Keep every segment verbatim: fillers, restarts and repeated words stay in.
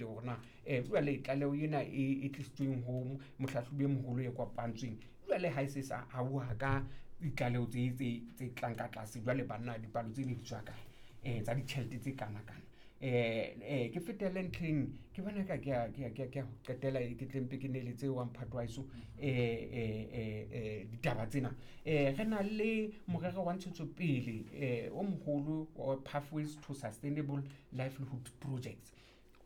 Rethabile hore na um jwale tlaleho ena e e tlisitsweng ho mohlahlobi e moholo e kopantsweng jwale ha e se sa auwa ka ditlaleho tse tse tse tlang ka tlase jwale banna dipalo tse ne di tswa kae um tsa ditjhelete tse kana-kana. um um ke fetele ntlheng ke bona ka ke a ke a ke a ke a ho qetela ke tle mpe ke neletse wa mphato wa heso um um ditaba tsena. um Re na le morero wa ntshetsopele um o moholo wa Pathways to Sustainable Livelihood Projects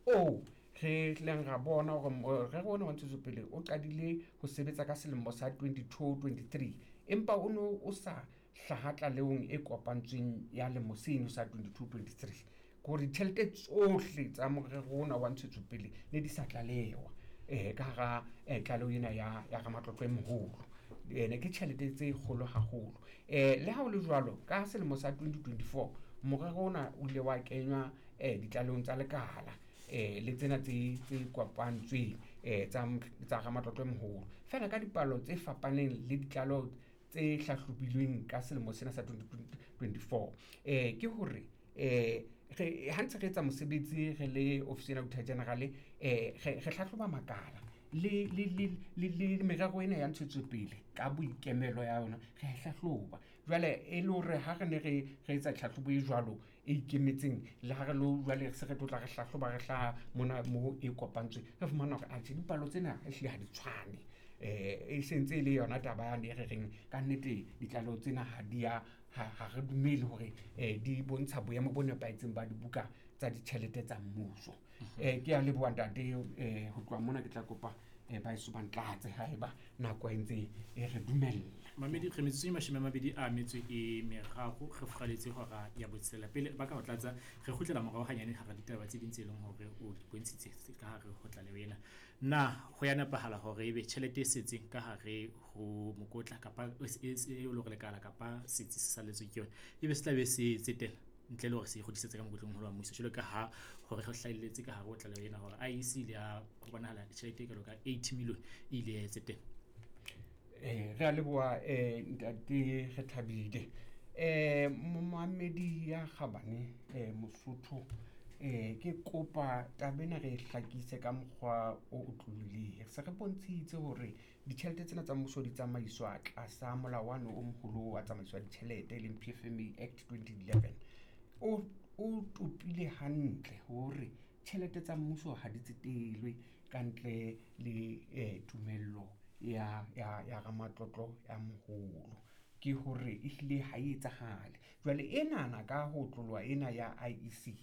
oo re tlileng ra bona hore morero ona wa ntshetsopele o qadile ho sebetsa ka selemo sa twenty-two, twenty-three empa o no o sa hlaha tlalehong e kopantsweng ya lemo seno sa twenty-two, twenty-three. Ke hore ditjhelete tsohle tsa morero ona wa ntshetsopele ne di sa tlalewa um ka hara tlaleho ena ya ya ramatlotlo e moholo. Ene ke tjhelete tse kgolo haholo. um Le ha ho le jwalo, ka selemo sa twenty twenty-four morero ona o ile wa kenywa um ditlalehong tsa lekala um le tsena tse tse kopantsweng um tsa tsa ramatlotlo e moholo. Feela ka dipalo tse fapaneng le ditlaleho tse hlahlobilweng ka selemo sena sa twenty twenty-four. um Ke hore um re ha ntse re etsa mosebetsi re le ofisi ena Auditor General um re re hlahloba makala le le le le le merero ena ya ntshetsopele ka boikemelo ya yona re a e hlahloba. Jwale e le hore ha re ne re re etsa tlhahlobo e jwalo e ikemetseng le ha re lo jwale se re tlo tla re hlahloba re hlaha mona mo e kopantsweng re fumana hore atjhe dipalo tsena ehlile ha di tshwane. um E sentse e le yona taba yane e re reng kannete ditlaleho tsena ha di ya ha re dumele hore um di bontsha boemo bo nepahetseng ba dibuka tsa ditjhelete tsa mmuso. um Ke a leboha ntate um ho tloha mona ke tla kopa um ba heso ba ntlatse haeba nako e ntse e re dumella. Mamedi re metsotso e mashome a mabedi a metso e meraro re furaletse hora ya botshelela. Pele ba ka ho tlatsa re kgutlela morao hanyane hara ditaba tse ding tse leng hore o di bontshitse ka hare ho tlaleho ena. Na ho ya nepahala hore ebe tjhelete e setseng ka hare ho mokotla kapa e e le hore lekala kapa setsi se salletsweng ke yona ebe se tla be se tsetela ntle le hore se kgutlisetse ka mokotleng wa mmuso jwalo ka ha hore re hlahelletse ka hare ho tlaleho ena hore I E C ile ya ho bonahala tjhelete e kalo ka eighty million e ile ya e tsetela. Eh re a leboha eh ntate Rethabile. Eh momamedi ya kgabane eh Mosotho eh ke kopa taba ena re e hlakise ka mokgwa o otlolohileng. Se re bontshitse hore ditjhelete tsena tsa mmuso di tsamaiswa tlasa molao wane o moholo wa tsamaiso ya ditjhelete e leng P F M A Act twenty eleven. O o topile hantle hore tjhelete tsa mmuso ha di tsetelwe ka ntle le eh tumello ya ya ya ramatlotlo ya moholo. Ke hore ehlile ha e etsahale. Jwale enana ka ho tloloha ena ya I E C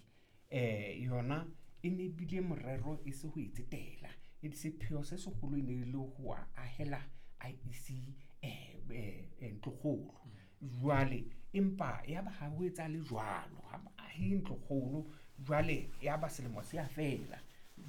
eh yona e ne bile morero e se ho e tsetela. E sepheo se seholo e ne le ho ahela I E C eh eh ntlokgolo. Jwale empa ya ba ha ho etsahale jwalo, ha ba ahe ntlokgolo jwale ya ba selemo se a fela.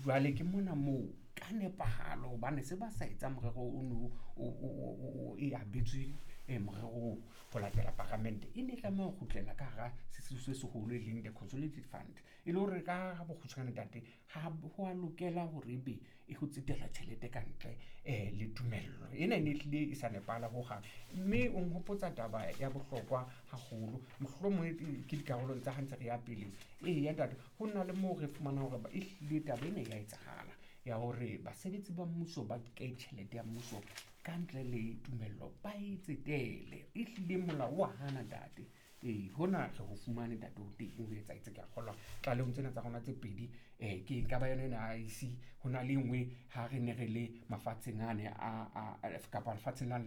Jwale ke mona moo ka nepahalo hobane se ba sa etsa morero o no o o o e abetswe morero oo ho latela paramente e ne e tlameha ho kgutlela ka hara sesiu se seholo e leng the Consolidated Fund. E le hore ka bokgutshwane ntate ha ho a lokela hore ebe e ho tsetela tjhelete ka ntle eh le tumello. Ena e ne ehlile e sa nepahala hohang. Mme o nhopotsa taba ya bohlokwa haholo mohlomong ke dikarolong tsa ha ntse re ya pele. Eya ntate ho na le moo re fumanang hore ehlile taba ena ya etsahala ya hore basebetsi ba mmuso ba nke tjhelete ya mmuso ka ntle le tumello ba e tsetele. Ehlile molao wa hana ntate. Ee, hona re ho fumane ntate ho teng ho etsahetse ke a kgolwa tlalehong tsena tsa rona tse pedi eh ke nka ba yona ena I E C ho na le e nngwe ha re ne re le mafatsheng ane a a kapa lefatsheng la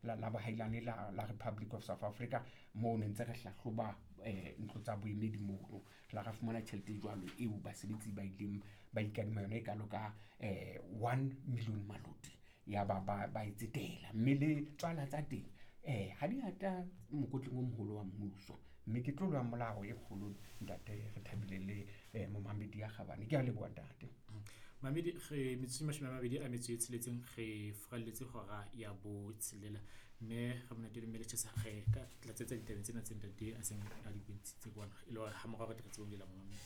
la la bohailane la la Republic of South Africa moo ne ntse re hlahloba eh ntlo tsa boemedi mono. Re la ra fumana tjhelete e jwalo eo basebetsi ba ileng ba ikadima yona e kalo ka eh one million maloti ya ba ba ba e tsetela. Mme le tswala tsa teng eh ha di ata mokotleng o moholo wa mmuso. Mme ke tlolo ya molao e kgolo ntate Rethabile le eh momamedi ya kgabane. Ke a leboha ntate. Mamedi re metsotso e mashome a mabedi a metso e tsheletseng re furalletse hora ya botshelela mme re monate le mme Letjhesa re ka tlatsetsa ditabeng tsena tse ntate a seng a di bontshitse kwana e le hore ha morao re tle re tsebe ho bulela momamedi.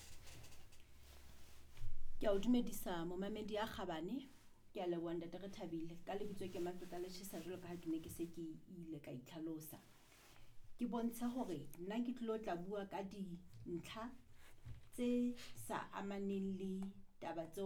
Ke a o dumedisa momamedi ya kgabane. Ke a leboha ntate Rethabile. Ka lebitso ke Matlotla Letjhesa jwalo ka ha ke ne ke se ke ile ka itlhalosa. Ke bontshe hore nna ke tlilo tla bua ka dintlha tse sa amaneng le taba tseo